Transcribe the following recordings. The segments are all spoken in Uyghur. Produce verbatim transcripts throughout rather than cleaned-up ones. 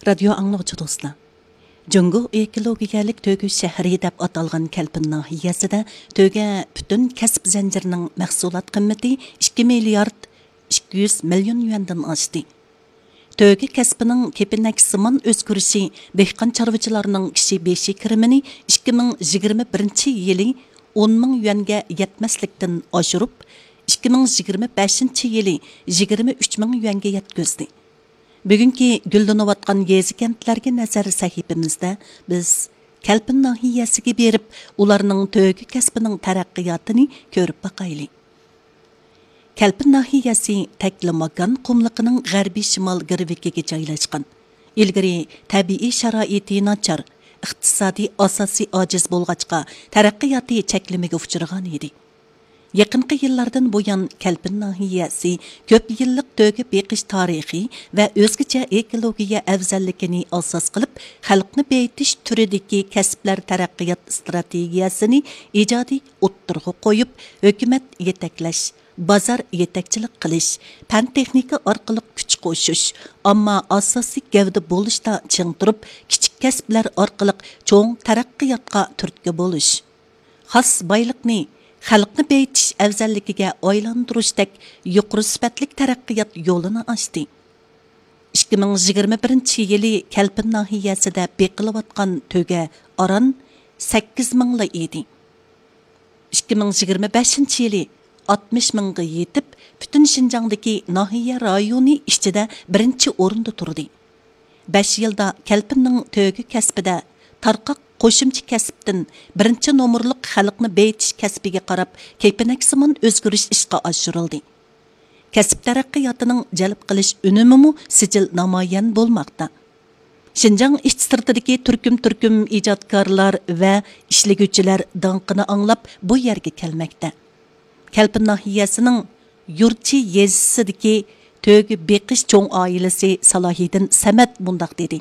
رادىيو ئاڭلىغۇچى دوستلار، جۇڭگو ئېكولوگىيەلىك تۆگە شەھىرى دەپ ئاتالغان كەلپىن ناھىيەسىدە تۆگە پۈتۈن كەسىپ زەنجىرىنىڭ مەھسۇلات قىممىتى ئىككى مىليارد ئىككى يۈز مىليون يۈەندىن ئاشتى. تۆگە كەسپىنىڭ كېپىنەكسىمان ئۆزگىرىشى دېھقان چارۋىچىلارنىڭ كىشى بېشى كىرىمىنى ئىككى مىڭ يىگىرمە بىرىنچى يىلى ئون مىڭ يۈەنگە يەتمەسلىكتىن ئاشۇرۇپ، ئىككى مىڭ يىگىرمە بەشىنچى يىلى يىگىرمە ئۈچ مىڭ يۈەنگە يەتكۈزدى. بۈگۈنكى گۈللىنىۋاتقان يېزا-كەنتلەرگە نەزەر سەھىپىمىزدە بىز كەلپىن ناھىيەسىگە بېرىپ، ئۇلارنىڭ تۆگە كەسپىنىڭ تەرەققىياتىنى كۆرۈپ باقايلى. كەلپىن ناھىيەسى تەكلىماكان قۇملۇقىنىڭ غەربىي شىمال گىرۋىكىگە جايلاشقان. ئىلگىرى تەبىئىي شارائىتى ناچار، ئىقتىسادىي ئاساسى ئاجىز بولغاچقا، تەرەققىياتى چەكلىمىگە ئۇچرىغان ئىدى. يېقىنقى يىللاردىن بۇيان، كەلپىن ناھىيەسى كۆپ يىللىق تۆگە بېقىش تارىخى ۋە ئۆزگىچە ئېكولوگىيە ئەۋزەللىكىنى ئاساس قىلىپ، خەلقنى بېيىتىش تۈرىدىكى كەسىپلەر تەرەققىيات ئىستراتېگىيەسىنى ئىجادىي ئوتتۇرىغا قويۇپ، ھۆكۈمەت يېتەكلەش، بازار يېتەكچىلىك قىلىش، پەن-تېخنىكا ئارقىلىق كۈچ قوشۇش، ئامما ئاساسىي گەۋدە بولۇشتا چىڭ تۇرۇپ، كىچىك كەسىپلەر ئارقىلىق چوڭ تەرەققىياتقا تۈرتكە بولۇش، خاس بايلىقنى خەلقنى بېيىتىش ئەۋزەللىكىگە ئايلاندۇرۇشتەك يۇقىرى سۈپەتلىك تەرەققىيات يولىنى ئاچتى. ئىككى مىڭ يىگىرمە بىرىنچى يىلى كەلپىن ناھىيەسىدە بېقىلىۋاتقان تۆگە ئاران سەككىز مىڭلا ئىدى. ئىككى مىڭ يىگىرمە بەشىنچى يىلى ئاتمىش مىڭغا يېتىپ، پۈتۈن شىنجاڭدىكى ناھىيە رايونى ئىچىدە بىرىنچى ئورۇندا تۇردى. بەش يىلدا كەلپىننىڭ تۆگە كەسپىدە تارقاق قوشۇمچە كەسىپتىن بىرىنچى نومۇرلۇق خەلقنى بېيىتىش كەسپىگە قاراپ كېپىنەكسىمان ئۆزگىرىش ئىشقا ئاشۇرۇلدى. كەسىپ تەرەققىياتىنىڭ جەلپ قىلىش ئۈنۈمىمۇ سىجىل نامايان بولماقتا. شىنجاڭ ئىچ سىرتىدىكى تۈركۈم-تۈركۈم ئىجادكارلار ۋە ئىشلىگۈچىلەر داڭقىنى ئاڭلاپ بۇ يەرگە كەلمەكتە. كەلپىن ناھىيەسىنىڭ يۇرچى يېزىسىدىكى تۆگە بېقىش چوڭ ئائىلىسى سالاھىدىن سەمەت مۇنداق دېدى: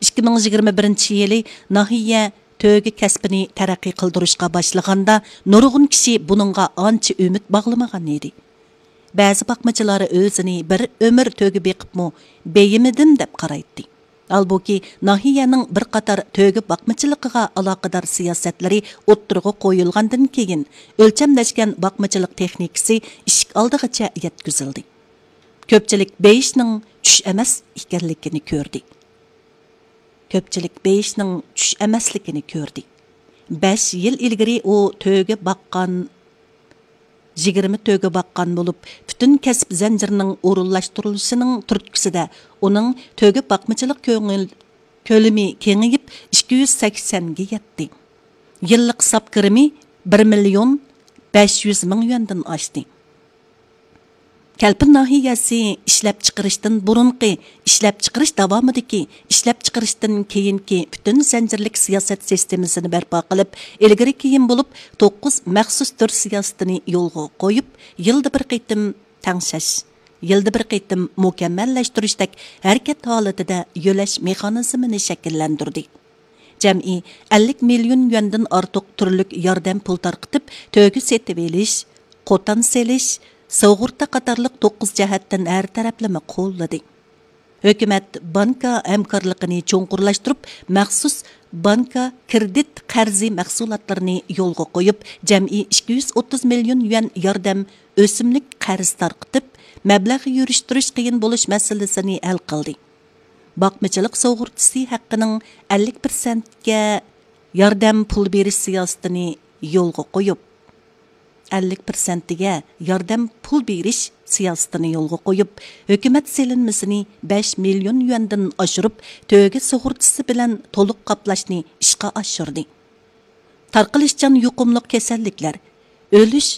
«ئىككى مىڭ يىگىرمە بىرىنچى يىلى ناھىيە تۆگە كەسپىنى تەرەققىي قىلدۇرۇشقا باشلىغاندا، نۇرغۇن كىشى بۇنىڭغا ئانچە ئۈمىد باغلىمىغان ئىدى. بەزى باقمىچىلار ئۆزىنى بىر ئۆمۈر تۆگە بېقىپمۇ بېيىمىدىم دەپ قارايتتى.» ھالبۇكى، ناھىيەنىڭ بىر قاتار تۆگە باقمىچىلىقىغا ئالاقىدار سىياسەتلىرى ئوتتۇرىغا قويۇلغاندىن كېيىن، ئۆلچەملەشكەن باقمىچىلىق تېخنىكىسى ئىشىك ئالدىغىچە يەتكۈزۈلدى. كۆپچىلىك بېيىشنىڭ چۈش ئەمەس ئىكەنلىكىنى كۆردى. كۆپچىلىك بېيىشنىڭ چۈش ئەمەسلىكىنى كۆردى. بەش يىل ئىلگىرى ئۇ تۆگە باققان، يىگىرمە تۆگە باققان بولۇپ، پۈتۈن كەسىپ زەنجىرىنىڭ ئورۇنلاشتۇرۇلۇشىنىڭ تۈرتكىسىدە ئۇنىڭ تۆگە باقمىچىلىق كۆڭۈل، كۆلىمى كېڭىيىپ، ئىككى يۈز سەكسەنگە يەتتى. يىللىق ساپ كىرىمى بىر مىليون بەش يۈز مىڭ يۈەندىن ئاشتى. كەلپىن ناھىيەسى ئىشلەپچىقىرىشتىن بۇرۇنقى، ئىشلەپچىقىرىش داۋامىدىكى، ئىشلەپچىقىرىشتىن كېيىنكى پۈتۈن زەنجىرلىك سىياسەت سىستېمىسىنى بەرپا قىلىپ، ئىلگىرى كېيىن بولۇپ توققۇز مەخسۇس تۈر سىياسىتىنى يولغا قويۇپ، يىلدا بىر قېتىم تەڭشەش، يىلدا بىر قېتىم مۇكەممەللەشتۈرۈشتەك ھەرىكەت ھالىتىدە يۆلەش مېخانىزمىنى شەكىللەندۈردى. جەمئىي ئەللىك مىليون يۈەندىن ئارتۇق تۈرلۈك ياردەم پۇل تارقىتىپ، تۆگە سېتىۋېلىش، قوتان سېلىش، سۇغۇرتا قاتارلىق توققۇز جەھەتتىن ھەر تەرەپلىمە قوللىدى. ھۆكۈمەت بانكا ھەمكارلىقىنى چوڭقۇرلاشتۇرۇپ، مەخسۇس بانكا كىرېدىت قەرزى مەھسۇلاتلىرىنى يولغا قويۇپ، جەمئىي ئىككى يۈز ئوتتۇز مىليون يۈەن ياردەم ئۆسۈملۈك قەرز تارقىتىپ، مەبلەغ يۈرۈشتۈرۈش قىيىن بولۇش مەسىلىسىنى ھەل قىلدى. باقمىچىلىق سۇغۇرتىسى ھەققىنىڭ ئەللىك پىرسەنتكە ياردەم پۇل بېرىش سىياسىتىنى يولغا قويۇپ، ئەللىك پىرسەنتىگە ياردەم پۇل بېرىش سىياسىتىنى يولغا قويۇپ، ھۆكۈمەت سېلىنمىسىنى بەش مىليون يۈەندىن ئاشۇرۇپ، تۆگە سۇغۇرتىسى بىلەن تولۇق قاپلاشنى ئىشقا ئاشۇردى. تارقىلىشچان يۇقۇملۇق كېسەللىكلەر، ئۆلۈش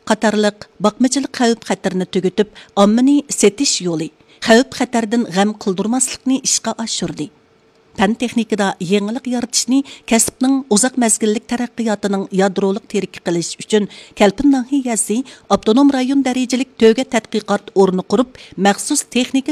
قاتارلىق باقمىچىلىق خەۋپ-خەتىرىنى تۈگىتىپ، ئاممىنى سېتىش يولى، خەۋپ-خەتەردىن غەم قىلدۇرماسلىقنى ئىشقا ئاشۇردى. پەن-تېخنىكىدا يېڭىلىق يارىتىشنى كەسىپنىڭ ئۇزاق مەزگىللىك تەرەققىياتىنىڭ يادرولۇق تىرىكى قىلىش ئۈچۈن، كەلپىن ناھىيەسى ئاپتونوم رايون دەرىجىلىك تۆگە تەتقىقات ئورنى قۇرۇپ، مەخسۇس تېخنىكا